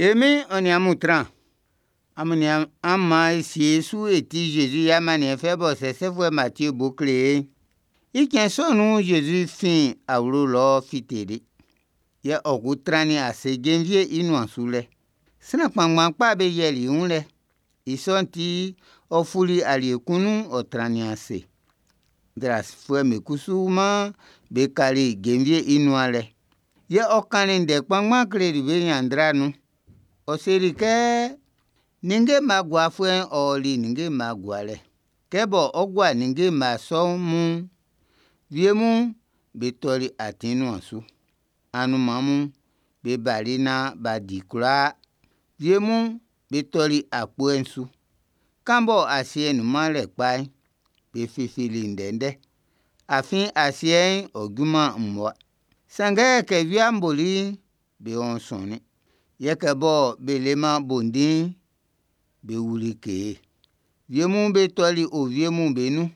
E Min'n ɔ nin amun tran. Amun nian, an maan e sie e su e tie Zezi i amanniɛn fɛ bɔ sɛsɛfuɛ Matie bo kle e'n. I cɛn sɔ nun'n, Zezi fin awlo lɔ fiteli, yɛ ɔ ko trannin ase jenvie'n i nuan su lɛ. Sran kpanngban kpa be yiɛli i wun lɛ. I sɔ'n ti, ɔ fuli alie kun nun, ɔ trannin ase. Nzrafuɛ'm be kusuman be kali jenvie'n i nuan lɛ. Yɛ ɔ kannin ndɛ kpanngban kleli be ɲanndra nun. Ɔ seli kɛ: Ninnge mma guafuɛ'n ɔ ɔli ninnge mma gualɛ. Kɛ bɔ ɔ́ gúa ninnge mma sɔ mun'n, wie mun be tɔli atin nuan su. Anunman mun be bali naan b'a di i kwlaa. Wie mun be tɔli akpɔ'n su. Kan bɔ asiɛ'n nunman lɛ kpa'n, be fifili ndɛndɛ, afin asiɛ'n ɔ juman mmua. Sanngɛ kɛ wia'n boli'n, be wɔnsɔnnin. Yɛ kɛ bɔ be leman bo ndin'n, be wuli kee. Wie mun be tɔli owie'm be nun.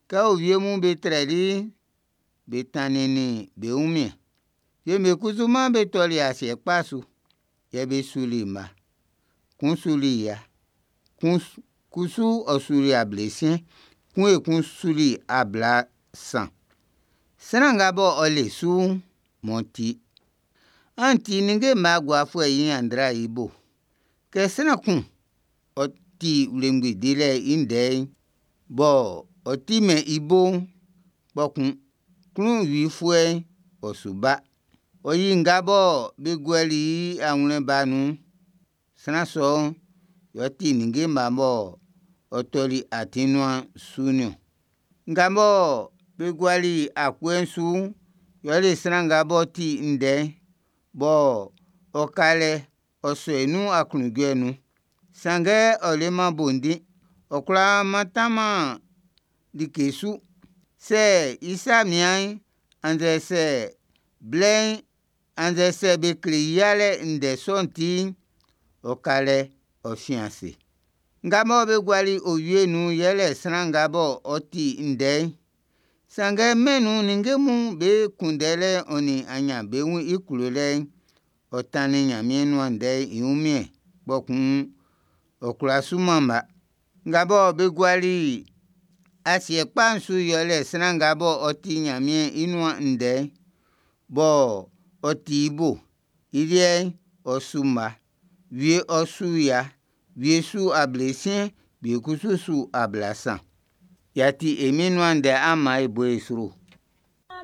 Kɛ owie'm be trɛli'n, be tanninnin be wunmiɛn'n. Wie'm be kusuman be tɔli asiɛ kpa su, yɛ be suli mma. Kun suli 100, kun kusu ɔ suli 60, kun ekun suli 80. Sran nga bɔ ɔ le su'n, m'ɔ tie. An ti ninnge mma guafuɛ'n i ɲanndra'n i bo. Kɛ sran kun ɔ ti wlengbi dilɛ'n i ndɛ'n, bɔ ɔ timɛn i bo'n, kpɔkun klunwifuɛ'n ɔ su ba. Ɔ yi nga bɔ be guɛli i awlɛn ba'n nun'n. Sran sɔ'n yɛ ɔ ti ninnge mma bɔ ɔ tɔli atin nuan su'n niɔn. Nga bɔ be guali akpɔ'n su'n, yɛle sran nga b'ɔ ti ndɛ'n, bɔ ɔ ka lɛ ɔ sɔ i nun aklunjuɛ nun'n. Sanngɛ ɔ leman bo ndin, ɔ kwlá mantanman like su. Sɛ i sa mian'n, annzɛ sɛ blɛ'n, annzɛ sɛ be kle i yalɛ ndɛ sɔ'n ti'n, ɔ ka lɛ ɔ fin ase. Nga mɔ be guali owie'n nun'n yɛle sran nga bɔ ɔ ti ndɛ'n, sanngɛ mɛn'n nun ninnge'm be kunndɛlɛ'n ɔ nin aɲanbeun'n i klolɛ'n, ɔ tannin Ɲanmiɛn nuan ndɛ'n i wunmiɛn'n, kpɔkun ɔ kwlá suman mma. Nga bɔ be guali asiɛ kpa'n su'n yɛle sran nga bɔ ɔ ti Ɲanmiɛn i nuan ndɛ'n, bɔ ɔ ti i bo'n. I liɛ'n, ɔ su mma. Wie ɔ su 100, wie su 60, wie kusu su 70. Y'a ti e Min'n nuan ndɛ, an maan e bo e sro.